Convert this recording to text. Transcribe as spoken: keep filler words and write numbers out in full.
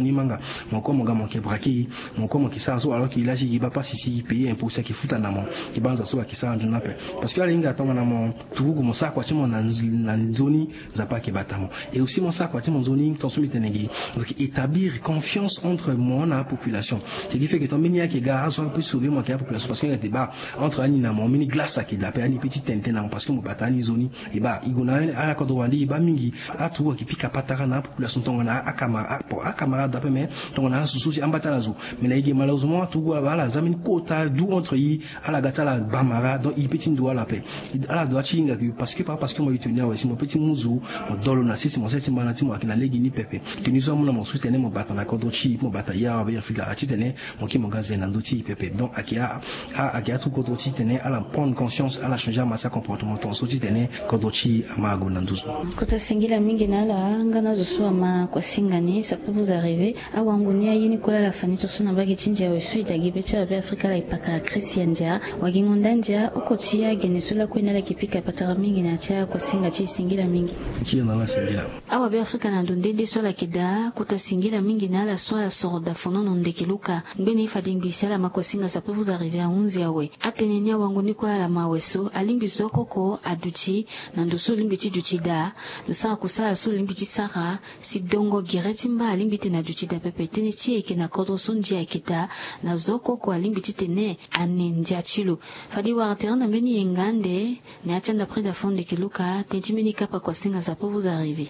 Ni manga, mo kue mo ga mo yeke braquer, mo kue mo yeke sara so alors que la si e yeke baa pasi si e payer impôt si ayeke futa na mo. E baa nza so ayeke sara nzoni ape. Parce que ala hinga tongana mo turugu mo sara kua ti mo na nzoni, nzapa ayeke bata mo. Et aussi mo sara kua ti mo nzoni tonga so mbi tene ge, mo yeke établir confiance entre mo na apopulation. Cest qui fait que tant mbeni ayeke ga azo ape sauver mo ayeke apopulation parce que nga te baa entre ani na mo mbeni glace ayeke daa ape, ani pe ti tene tënë na mo parce que mo bata ani nzoni. E baa e gue na ala kodro wande e baa mingi. Aturugu ayeke pika patara na apopulation tongana akamara, akamara daa ape mais tongana asu so si amba ti ala zo. Mais na e ge malheureusement aturugu ala za mbeni kota du entre e. Ala ga ti ala bamara donc e pe ti ndo ala ape. Ala doit ti hinga ke parce que par parce que mo ye tene awe si mo pe ti mu zo, mo dolo na sese mo sese ti mbana ti mo ayeke na lege ni pepe. Teni so amu na mo so ti tene mo bata na kodro ti e mo bata ya awe ya afrika ti tene mo kiri mo ga zen na ndö ti e pepe donc ayeke a ayeke aturugu kodro ti tene ala prendre conscience ala changer ama ti acomportement tonga so ti tene kodro ti e ama ague na nduzu. Kota singila mingi na ala nga na azo so ama kuasinga ni ça peut vous arriver. Awango ni aye ni kue laa ala fa ni tonso na mbage ti ndia awe so e dagi be ti awa be afrika ala e pakara krisi ya ndia. Wagingo nda ndia oko ti agene so lakue ni ala yeke pika patara mingi na ya ti akuasinga ti e singila mingi. Awa be afrika na ndo nde nde so ala yeke daa kota singila mingi na ala so ala soro dafonono ndeke luka. Ngbeni fade ngbii si ala ma kuasinga ça peut vous arriver ahunzi awe. Atene ni awango ni kue ala ma awe so alingbi zo oko oko aduti na ndo so olingbi ti duti daa. Ndo sara kusala so olingbi ti sara si dongo gere ti mba alingbi ti tene aduti daa pepe tënë ti e ayeke na kodro so ndia ayeke daa. Na zo oko oko alingbi ti tene ane ndia ti lo. Fade e wara tere na mbeni yenga ande. Na ya ti anda preda fo ndeke luka tënë ti mbeni kapa kuasinga ça peut vous arriver.